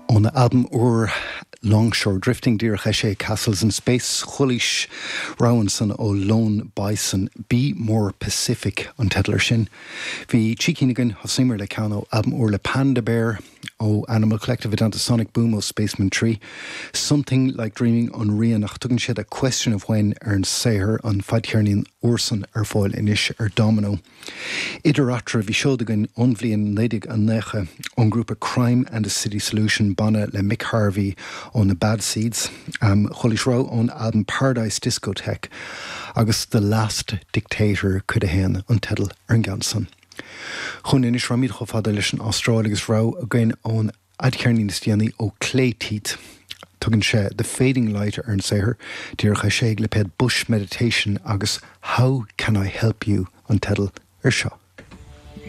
Óna albam úr Longshore Drifting, díreach eisithe ag Castles in Space, chualaís rogha ansan ó Lone Bison, Be More Pacific an teideal air sin. Bhí trí cinn againn, thosaíomar le ceann ó albam úr le Panda Bear, ó Animal Collective i dteannta Sonic Boom ó Spacemen 3, Something Like Dreaming an rian ach tugann siad A Question of When ar an saothar, an fadcheirnín úr san ar fáil anois ar Domino. Idir eatarthu, bhí seod againn ón bhliain 1990 ón ngrúpa Crime and the City Solution, banna le Mick Harvey ó na Bad Seeds. Chualaís rogha ón albam Paradise Discotheque agus The Last Dictator, Cuid 1, an teideal ar an gceann san. Chugainn anois, raghaimid chomh fada leis an Astráil agus rogha againn ón fhadcheirnín is déanaí ó Clay Teeth. Tugann sé The Fading Light ar an saothar, díreach eisithe ag lipéad Bush Meditation agus How Can I Help You an teideal ar seo.